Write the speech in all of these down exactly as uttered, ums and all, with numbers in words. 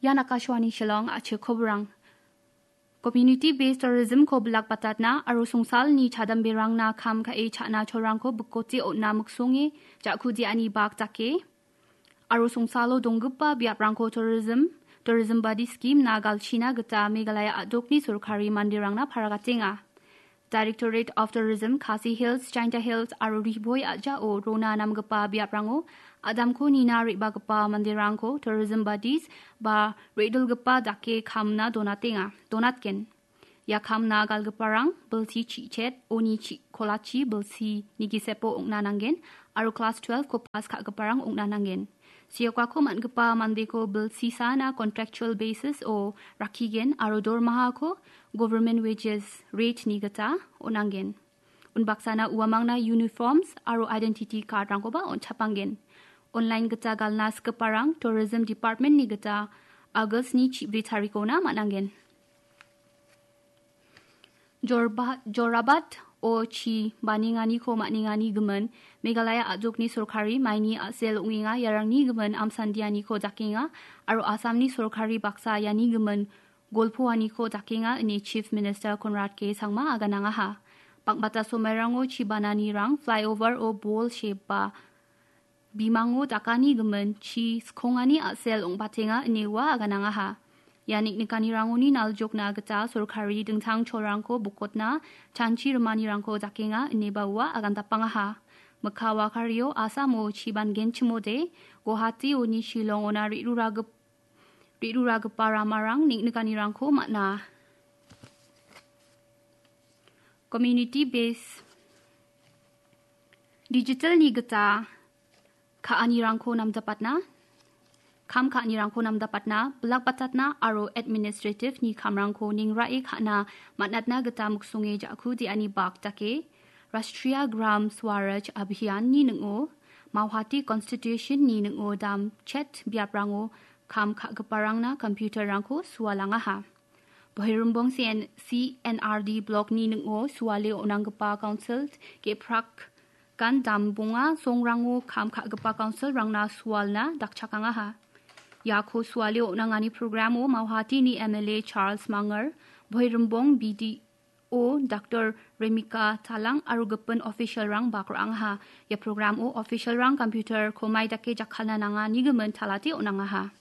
Ian Akashvani Shillong, a·chik koborang. Community based tourism-ko bilakbatatna aro songsalni chadamberangna kam ka·e cha·na cholrangko bikote on·na miksonge ja·kudiani bak dake aro songsalo donggipa biaprangko tourism, tourism body scheme-na galchina gita Meghalaya a·dokni sorkari manderangna paragatenga. Directorate of Tourism, Khasi Hills, Jaintia Hills aro Ri Bhoi a·jao rona namgipa biaprango adamko nina re·bagipa manderangko tourism buddies ba re·dilgipa dake kamna donatenga, donatgen. Ia kamna galgiparang bilsi chi·chet, oni chi-, kolachi bilsi nigisepo ong·na nanggen aro klas twelve-ko pas ka·giparang ong·na nanggen. Siokako man·gipa mandeko bilsisana contractual basis-o rakkigen aro dormahako government wages rate-ni gita on·angen. Unbaksana uamangna uniforms aro identity card-rangkoba on·chapanggen. Online gita galna sikgiparang Tourism Department-ni gita August-ni chibri tarikona man·angen. Jorba-, Jorabat-o chi banenganiko man·engani gimin Meghalaya a·dokni sorkari maini a·sel ong·enga, iarangni gimin amsandianiko dakenga aro Assamni sorkari baksa iani gimin golpoaniko dakenga ine Chief Minister Conrad K Sangma aganangaha. Bang·bata somairango chi bananirang flyover-o bol sheba bimango dakani gimin chi skongani a·sel ong·batenga ine ua aganangaha. Ia niknikanirangoni naljokna gita sorkari dingtang cholrangko bokotna chanchi rimanirangko dakenga ineba ua agandapangaha. Mikka wakario Assam-o chi bangenchimode Guwahati-oni Shillong-ona re·ruragip-, re·ruragipa ramarang niknikanirangko man·a. Community base digital-ni gita ka·anirangko namdapatna, kam ka·anirangko namdapatna, bilakbatatna aro administrative-ni kamrangko ningrae ka·na man·atna gita miksonge ja·ku de·ani bak dake Rashtriya Gram Swaraj Abhiyan-ni ning·o Mauhati Constitution-ni ning·o dam chet biaprango kam ka·giparangna computer-rangko sualangaha. Boherimbong C N, C N R D Block-ni ning·o suale on·anggipa council ge·prak gan dambonga songrango kam ka·gipa council-rangna sualna dakchakangaha. Iako suale on·angani program-o Mauhati-ni M L A Charles Manger, Boherimbong B D O Doctor Remika Talang aro gipin official-rang bak ra·angaha. Ia program-o official-rang computer-ko mai dake jakkalna nangani gimin talate on·angaha.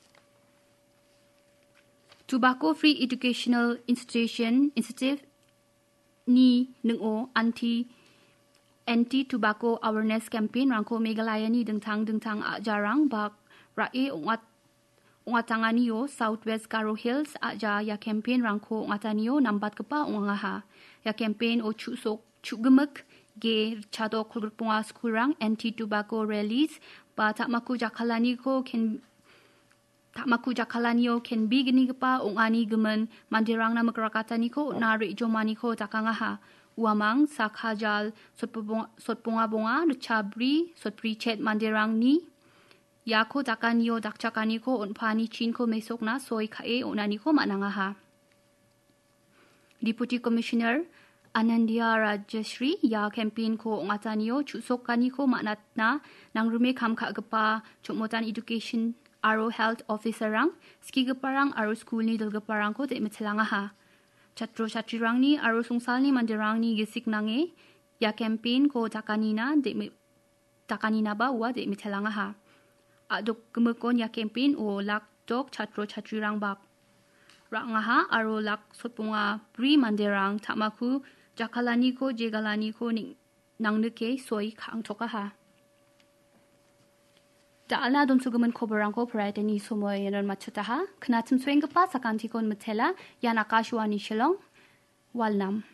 Tobacco Free Educational Institution, Institute ni ning·o anti, Anti Tobacco Awareness Campaign-rangko Meghalaya-ni dingtang dingtang a·jarang bak ra·e ong·at-, ong·atanganio South West Garo Hills a·ja ia campaign-rangko ong·atanio nambatgipa ong·angaha. Ia campaign-o chu·sok, chu·gimik, ge, ritchadok, kolgrikbonga skulrang Anti Tobacco Rallies ba ta·mako jakkalaniko ken-, ta·mako jakkalanio kenbegnigipa ong·ani gimin manderangna mikrakataniko on·a re·jomaniko dakangaha. Uamang, Sakhajal, Sotbobong-, Sotbonga bonga, Richabri, Sotbri chet manderangni iako dakanio dakchakaniko on·pani chinko mesokna soi ka·e on·aniko man·angaha. Deputy Commissioner Anandia Rajashri ia campaign-ko ong·atanio chu·sokaniko man·atna nangrime kam ka·gipa Chommotan Education aro Health Officer-rang, skigiparang aro skulni dilgiparangko de·mitelangaha. Chatro chatrirangni aro songsalni manderangni gisik nange ia campaign-ko dakanina de·mi-, dakaninaba ua de·mitelangaha. A·dok gimikon ia campaign-o lak dok chatro chatrirang bak ra·angaha aro lak sotbonga bri manderang ta·mako jakkalaniko jegalaniko ning-, nangnike soi ka·angtokaha. Da·alna donsogimin koborrangko poraitani somoion matchotaha. Knatim soenggipa sakantikon mitela, ian Akashvani Shillong, Walnam.